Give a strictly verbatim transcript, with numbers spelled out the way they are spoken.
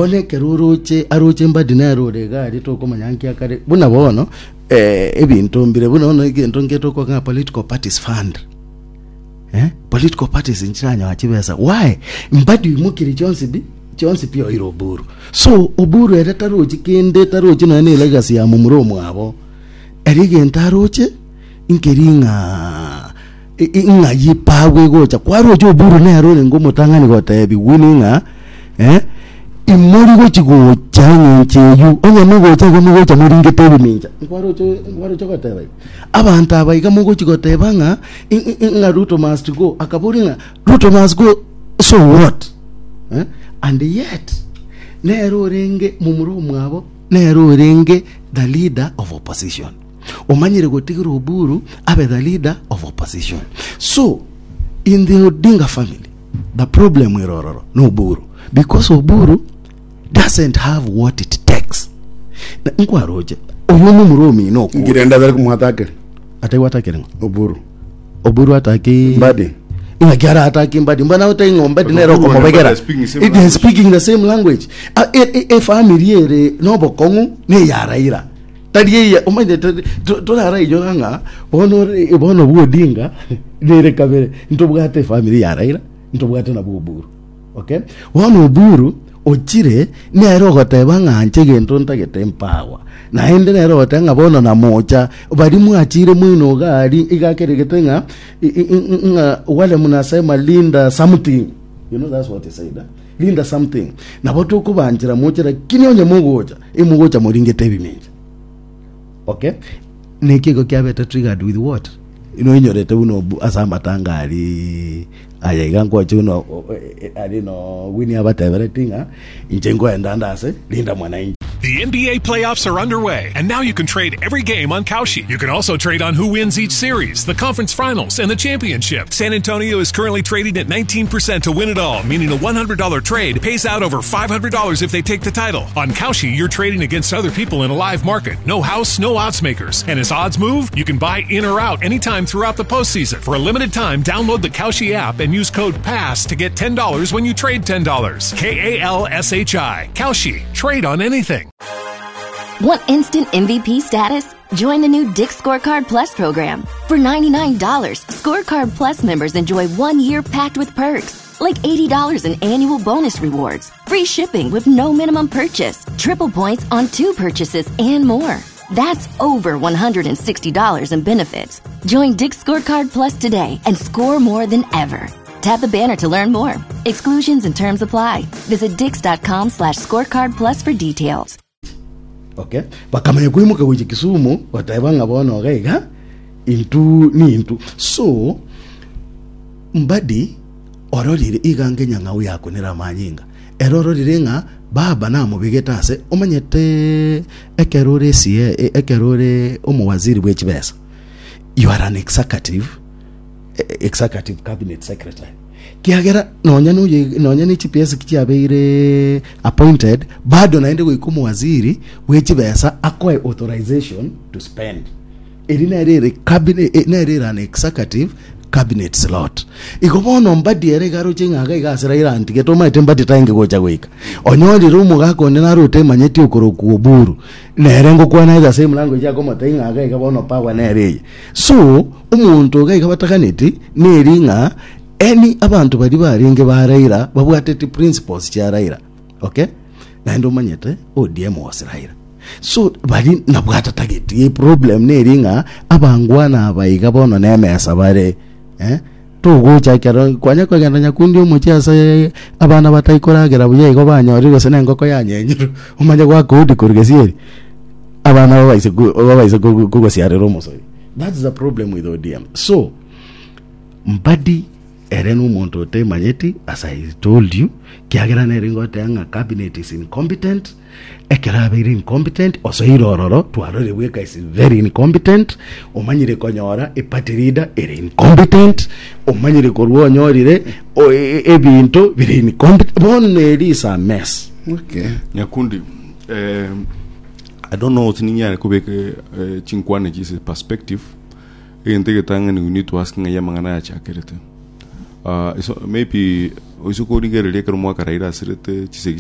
Bono ekero oroche aroche Mbadi nere ore iga aria tokomanya nki akare buna bono eh, ebinto mbire buna bono egento nke tokoa ng'a political parties fund eh, political parties nchiranyora chibesa why Mbadi oimokire chionsi pi chionsi pi oire Oburu so Oburu ere tarochi kende tarochi nonya na elegacy ya momura omwabo ere egento aroche nkeri ng'a ng'ai epago egocha kwaroche Oburu nere orenge omotang'ani gotebi Winnie ng'a eh, imori gochi gocha eng'encho eywo onye mogocha igo mogocha moringete ebimincha nkwaroche nkwaroche goteba igo abanto aba iga mogochi goteba ng'a ng'a Ruto must go akabori ng'a Ruto must go so what eh? and yet nere orenge momura omwabo nere orenge the leader of opposition omanyire gotigera Oburu abe the leader of opposition so in the Odinga family the problem ere ororo no Oburu because Oburu doesn't have what it takes Na- nkwaroche oyo omomura omino okure Ngirenda bere kumwatakere ataigwatakere ng'o Oburu. Oburu ataki Mbadi. ing'aki aratake Mbadi mbana otai ng'o Mbadi nere Oburu and okomobegera Mbadi are speaking the same It is language. speaking the same language Ah, e- e- efamily ere nobokong'u neya Raila tari eye omanyete to- torarainyora ng'a bono ore- bono bwa Odinga nere kabere ntobwate efamily ya Raila ntobwate nabwo Oburu okay bono Oburu ochire nere ogoteba ng'a nche egento ntagete mpawa naende nere ogoteba ng'a bono namocha bari mwachire mwino iga aria iga akeregete ng'a i- i- i- ng'a wale mnasema linda something you know that's what he said eh? linda something nabo tokobanchera moche lakini onye mogocha emogocha moringete ebimincha okay neki igo kiabete triggered with what noinyorete buna obu ase amatanga aria aya iga nkwache buna o- o- e- ari no Winnie abatebereti ng'a inche nkoenda nde ase linda mwananchi The NBA playoffs are underway, and now you can trade every game on Kalshi. You can also trade on who wins each series, the conference finals, and the championship. San Antonio is currently trading at nineteen percent to win it all, meaning a one hundred dollar trade pays out over five hundred dollars if they take the title. On Kalshi, you're trading against other people in a live market. No house, no odds makers. And as odds move, you can buy in or out anytime throughout the postseason. For a limited time, download the Kalshi app and use code PASS to get ten dollars when you trade ten dollars. K A L S H I. Kalshi. Trade on anything. Want instant M V P status? Join the new Dick's Scorecard Plus program. For ninety-nine dollars, Scorecard Plus members enjoy one year packed with perks, like eighty dollars in annual bonus rewards, free shipping with no minimum purchase, triple points on two purchases, and more. That's over one hundred sixty dollars in benefits. Join Dick's Scorecard Plus today and score more than ever. Tap the banner to learn more. Exclusions and terms apply. Visit dicks dot com slash scorecard plus for details. Okay bakamanya koimoka gochia Kisumu goteba ng'a bono iga iga intu ni intu so Mbadi ororire iga ngenyang'au yakunera amanyinga ere ororire ng'a baba namobegete ase omanyete ekero ore sie ekero ore omowaziri bwa echibesa you are an executive eh, executive cabinet secretary kiagera nonya noye nonya ne G P S chiabeire appointed bado naende goika omowaziri bwechibesa akoe authorization to spend eri nere ere cabinet eh, nere ere an executive cabinet slot igo bono Mbadi ere iga aroche ng'a iga iga ase Raila antigete omanyete Mbadi taenge gocha goika onyorire omogaka onde narote emanyeti okorokwa Oburu nere ngokwana the same language akomotebia ng'a iga iga bono power nere eye so omonto iga iga bataganeti neri ng'a eni abanto bari barenge ba Raila babwateti principles chia Raila okay naende omanyete O D M was Raila so bari nabwatatageti eproblem neri ng'a abangwana aba iga bono nemesa bare eh? Togocha ekero kwanya kogenda nyakundi omochie ase abana bataikoragera buya igo banyorire gose na engoko yanyenyirwe omanye gwaka odi korwa gesieri abana babaise ku- babaise kogu- kogosiarera omosori. That's the problem with O D M. So Mbadi ere nomonto otemanyeti as I told you kiagera nere ngoteba ng'a cabinet is incompetent ekero abeire incompetent osoire ororo twarorire bweka is very incompetent omanyire konyora eparty leader ere incompetent omanyire korwa onyorire o- e- e- ebinto bire incompetent bono eri is a mess. Okay. Nyakundi, eh, I don't know sininyare kobeka eh, chinkwana chise perspective egento egetang'ani we need to ask ng'a yamang'ana yachakerete uh, so maybe oise korigereria ekero mwaka Raila asirete chisegi.